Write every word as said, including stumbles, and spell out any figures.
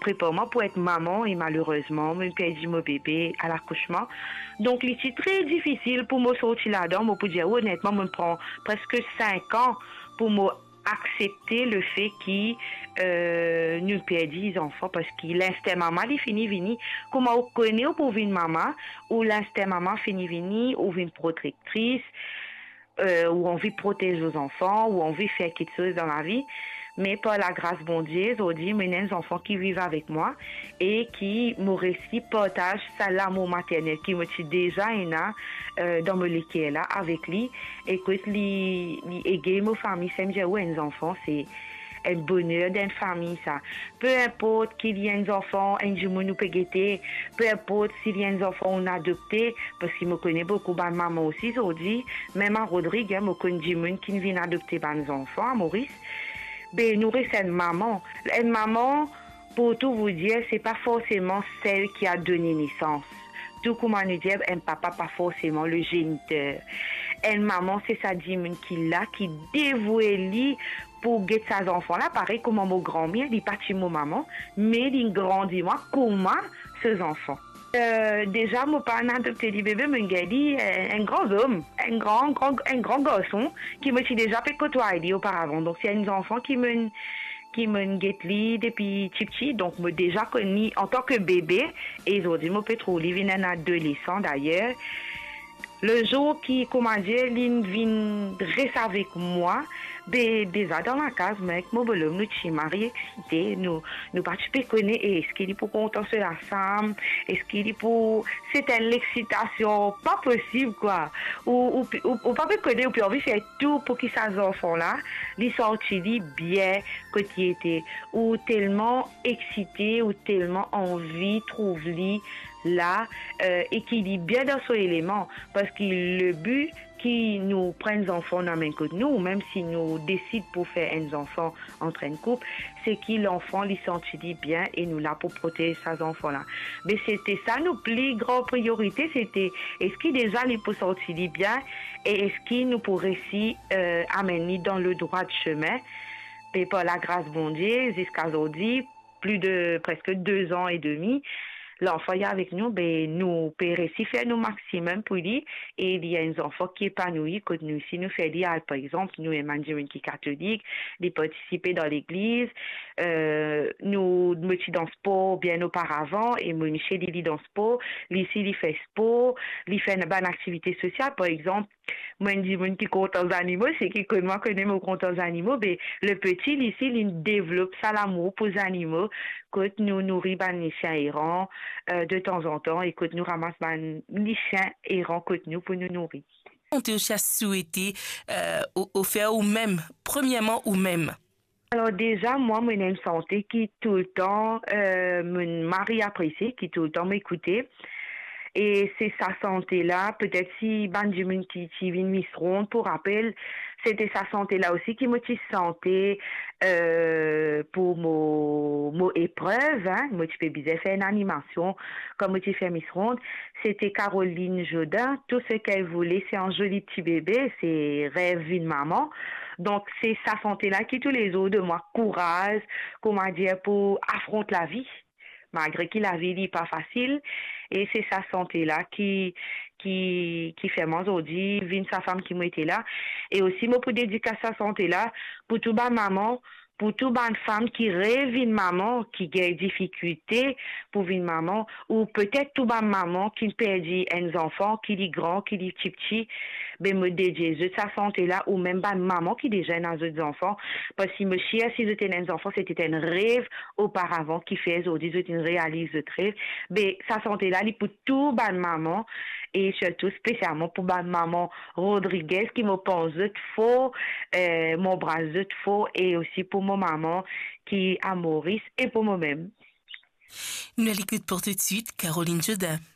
prepar mwa pou et mama e malerezman, mo perdi mo bebe alakousman. Donk, li ti tre difisil pou mo sorti ladan. Mo pou dir ou onetman, mo pran preske sink an pou mo aksepte lefe ki, eh, nou perdi zanfan, parski linstin mama, li fini vini. Kouma ou kone ou pou vinn mama, ou linstin mama fini vini, ou vinn protektris, eh, ou anvi protez ou zanfan, ou anvi fer kiksoz dan lavi. Me par lagras Bondie, zordi, mo ena enn zanfan ki viv avek mwa e ki mo resi partaz sa lamour maternel ki mo ti deza ena, eh, dan mo leker la avek li. E kot li, li ege mo fami, sa mo dir ou, enn zanfan, se enn boner dan enn fami, sa. Pe inport ki li enn zanfan enn dimoun ou pe gete, pe inport si li enn zanfan ou adopte, parski mo kone boukou bann mama osi zordi, mem a Rodrig, hein, mo konn dimoun ki vinn adopte bann zanfan a Moris. Be, nou res enn mama. Enn mama, pour tout vous dire, c'est pas forcément celle qui a donné naissance. Tou kouma nou dir, enn papa pa forseman le géniteur. Enn mama, se sa dimoun ki la, ki devoue li pou get sa zanfan la, parey kouma mo granmir, li pa ti mo mama, me li grandi mwa kouma so zanfan. Eh, deza, mo pa adopte li bebe, mo gagn li, eh, enn gran zom, enn gran, gran, enn gran garson ki mo ti deza pe kotway li oparavan. Donk, se enn zanfan ki mo, ki mo get li depi tipti, donk mo deza konn li antan ki bebe, e zordi mo pe trouv li vinn enn adolesan dayer. Lezour ki, kouma dir, li vinn res avek mwa, be, deza dan lakaz, mwa ek mo bolom, nou ti mari eksite, nou, nou pa ti pe kone, e eski li pou kontan so lasam, eski li pou, se enn lexitasion pa posib, kwa. Ou, ou, ou, ou pa pe kone, ou pe anvi fer tou pou ki sa zanfan la, li santi li bien kot li ete. Ou telman eksite, ou telman anvi trouv li la, eh, e ki li bien dan so eleman, parski le bi ki nou pran zanfan nou amenn kot nou, ou mem si nou desid pou fer enn zanfan ant enn koup, se ki lanfan li santi li bien e nou la pou protez sa zanfan la. Me sete sa nou pli gran priorite, sete eski deza li pou santi li bien e eski nou pou resi, eh, amenn li dan le drwa semin. E par lagras Bondie, ziska zordi, plis de preske de zan e demi, lanfan li avek nou, be, nou pe resi fer nou maximum pou li, e li enn zanfan ki epanoui kot nou. Si nou fer li al, par exanp, nou enn bann dimoun ki katolik, li partisipe dan legliz, eh, nou, mo ti dan spor bien oparavan, e mo misie li, li dan spor, li si li fer spor, li fer bann aktivite sosial, par exanp, mo enn dimoun ki kontan zanimo, seki konn mwa kone mo kontan zanimo, be, le peti, li si, li devlop sa lamour pou zanimo, kot nou nouri bann lisien eran, eh, de tanzantan, e kot nou ramas bann lisien eran kot nou pou nou nouri. Ou ti osi a swete, eh, ou, ou fer ou mem, premierman ou mem? Alor deza, mwa, mo ena enn sante ki toultan, eh, mo mari apresie, ki toultan mo ekoute. E se sa sante la, petet si bann dimoun ki ti vinn Miss Ronde pou rapel, sete sa sante la osi ki mo ti sante, eh, pou mo, mo eprev, hein, mo ti pe bizin fer enn animasion, kan mo ti fer Miss Ronde, sete Caroline Jodin, Tout ce qu'elle voulait, c'est un joli petit bébé, se rev vinn mama. Donk, se sa sante la ki toulezour donn mwa kouraz, kouma dir, pou afront lavi, malgre ki lavi li pa fasil. E se sa sante la ki, ki, ki fer mwa zordi vinn sa fam ki mo ete la. E osi, mo pou dedikas sa sante la pou tou bann mama, pou tou bann fam ki rev vinn mama, ki gagn difikilte pou vinn mama, ou petet tou bann mama ki perdi enn zanfan, ki li gran, ki li tipti, be, mo dedie zot sa sante la, ou mem bann mama ki deza ena zot zanfan, parski mo sir si zot ena enn zanfan, sete enn rev oparavan ki fer zordi zot inn realiz zot rev. Be, sa sante la, li pou tou bann mama, e sirtou spesialman pou bann mama Rodriguez, ki mo pans zot for, eh, mo anbras zot for, e osi pou mo mama ki a Moris e pou mo mem. Nou al ekout pou toutswit Caroline Jodin.